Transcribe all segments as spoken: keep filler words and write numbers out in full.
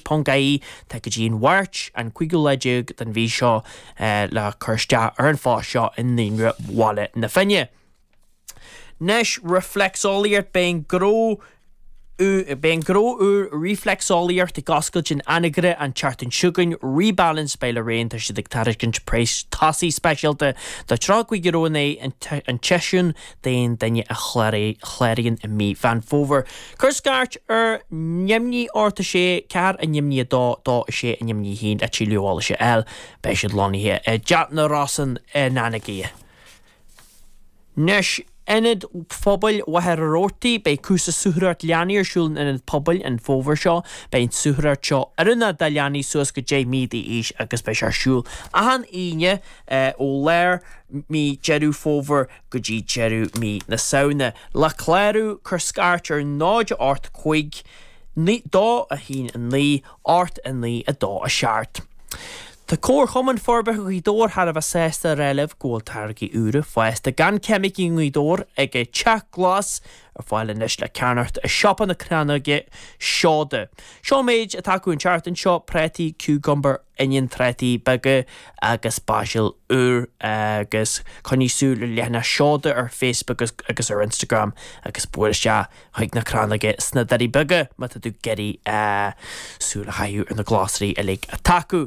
tuismitheoirí ponc ie. Tá go dtí an Mháirt an cúigiú lá déag den mhí seo le cur isteach ar an phost seo i Naíonra Bhaile na Finne. Anois reflexolaíocht. Beidh gnó Beidh gnó úr reflexolaíocht ag oscailt in Anagaire an tseachtain seo chugainn. Rebalance by Lorraine. Tá siad ag tairiscint praghas tosaigh speisialta do tríocha cúig euro in aghaidh an tseisiúin d'aon duine a chláraíonn i mí Mheán Fómhair. Cuir scairt ar neamhní ocht a sé ceathair a neamhní a dó dó a sé a neamhní haon le tuilleadh eolais a fháil. Beidh siad lonnaithe i dTeach na Rosann in Anagaire. Anois Ionad Pobail Mhachaire Rabhartaigh. Beidh cúrsa suathaireacht leanaí ar siúl in Ionad Pobail an fómhar seo. Beidh an suathaireacht seo oiriúnach do leanaí suas go deich mí d'aois agus beidh sé ar siúl achan Aoine ó lár mí Deireadh Fómhair go dtí deireadh mí na Samhna. Le clárú, cuir scairt ar náid ocht cúig dó a haon a naoi ocht a naoi a dó a seacht. Tá Comharchumann Forbartha Ghaoth Dobhair thar a bheith sásta a rá libh go bhfuil táirgí úra fásta gan ceimicí i nGaoth Dobhair ag Teach Glas ar fáil anois le ceannacht i siopa na Crannóige Seoda. Seo méid atá acu an tseachtain seo: prátaí, cucumber, oinniún, trátaí beaga agus basil úr. Agus coinnigh súil ar leathanach Seoda ar Facebook agus ar Instagram agus buail isteach chuig na Crannóige sna Doirí Beaga má tá tú ag iarraidh súil a chaitheamh ar na glasraí uilig atá acu.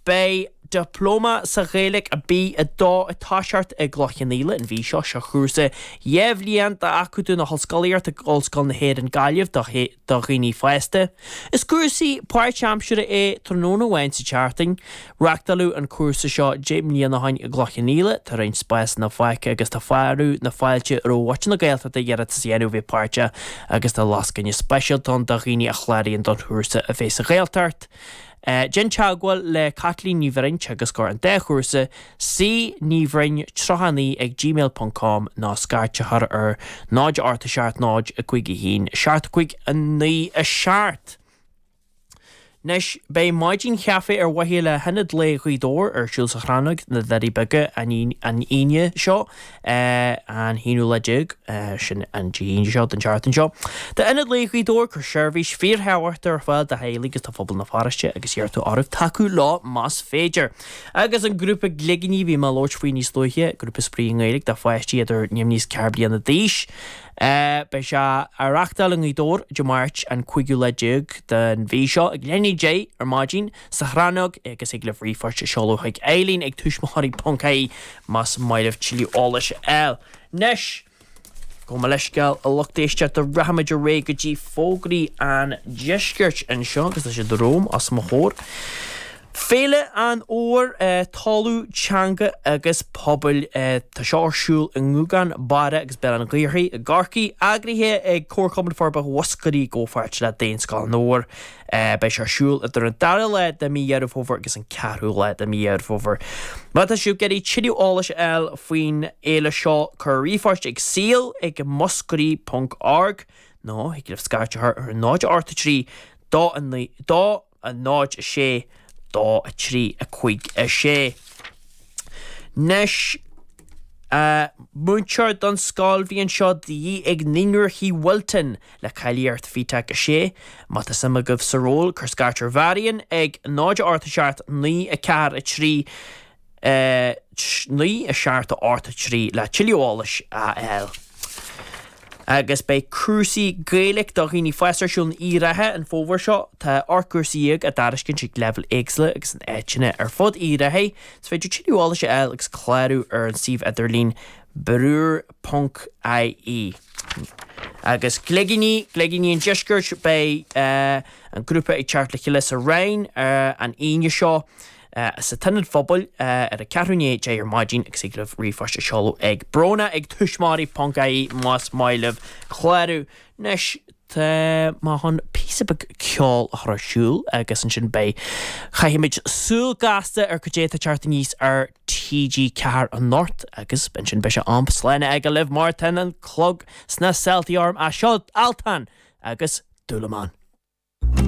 Beidh Dioplóma sa Ghaeilge B a dó ag toiseacht i gCloich Cheann Fhaola an mhí seo. Seo cúrsa dhá bhliain d'Acadamh na hOllscolaíochta ag Ollscoil na hÉireann Gaillimh do dhaoine fásta. Is cúrsa páirtaimseartha é, tráthnóna amháin sa tseachtain. Reáchtáladh an cúrsa seo deich mbliana ó shin i gCloich Cheann Fhaola. Tá roinnt spásanna fágtha agus tá fearadh na fáilte roimh mhuintir na Gaeltachta iarratas a dhéanamh bheith páirteach agus tá lascaine speisialta ann do dhaoine a chláraíonn don chúrsa a bheith sa Ghaeltacht. Déan teagmháil le Caitlín Ní Bhroin, teagascóir an dá chúrsa, C Ní Bhroin tríocha naoi ag gmail ponc com nó scairt a chur ar náid ocht seacht náid a cúig a haon seacht cúig a naoi a seacht. Anois beidh maidin chaife ar mhaithe le hIonad Lae Ghaoth Dobhair ar siúl sa Chrannóg na Doirí Beaga an Aoine seo, an haonú lá déag, sin an Dé hAoine seo den tseachtain seo. Tá Ionad Lae Ghaoth Dobhair ag cur seirbhís fíorthábhachtach ar fáil do theaghlaigh agus do phobal na pharóiste agus iarrtar oraibh tacú leo más féidir. Agus an grúpa Gligíní, bhí mé ag labhairt faoi níos luaithe, grúpa spraoi i nGaeilge do pháistí idir naoi is ceithre bliana d'aois. Beidh sé á reáchtáil i nGaoth Dobhair Dé Máirt an cúigiú lá déag den mhí seo ag leath i ndiaidh a deich ar maidin sa Chrannóg agus thig libh ríomhphost a seoladh chuig Eileen ag tuismitheoirí ponc ie más maith libh tuilleadh eolais a fháil. Anois, gabh mo leithscéal, a lucht éisteachta, rachaimid ar aghaidh go dtí fógraí an deiscirt anseo agus tá siad romham os mo chomhair. Féile an Fhómhair, Talamh, Teanga agus Pobail. Tá seo ar siúl i nGúgán, Barra agus Béal an Ghaorthaidh i gCorcaigh, eagraithe ag Comharchumann Forbartha Mhúscraí i gcomhpháirt le Daonscoil an Fhómhair. Beidh sé ar siúl idir an dara lá de mí Dheireadh Fómhair agus an ceathrú lá de mí Dheireadh Fómhair. Má tá sibh ag iarraidh tuilleadh eolais a fháil faoin fhéile seo, cuir ríomhphost ag saol ag muscraí ponc org nó thig libh scairt a chur ar náid ocht trí dó a naoi dó a náid a sé dó a trí a cúig a sé. Anois, múinteoir don scoilbhliain seo de dhíth ag Naíonra Uí Wilton le cáilíocht FETAC a sé. Má tá suim agaibh sa ról, cuir scairt ar Mharion ag náid ocht a seacht naoi a ceathair a trí naoi a seacht ocht a trí le tuilleadh eolais a fháil. Agus beidh cúrsaí Gaeilge do dhaoine fásta ar siúl in Uíbh Ráthaigh an fómhar seo. Tá ocht gcúrsa dhéag á dtairiscint ag leibhéil éagsúla agus in áiteanna ar fud Uíbh Ráthaigh. Is féidir tuilleadh eolais a fháil agus clárú ar an suíomh idirlín brúr ponc ie. Agus Gligíní, Gligíní an Deiscirt, beidh an grúpa ag teacht le chéile sa Rinn an Aoine seo sa tIonad Phobail ar a ceathrú i ndiaidh a deich ar maidin agus thig libh ríomhphost a seoladh ag Bróna ag tuismitheoirí ponc ie más maith libh clárú. Anois tá mé chun píosa beag ceoil a chur ar siúl agus ansin beidh, caithfimid súil gasta ar cad é atá ag teacht aníos ar T G ceathair anocht agus ansin beidh sé am slán a fhágáil libh mar tá an clog sna seoltaí orm. Seo Altan agus Dúlamán.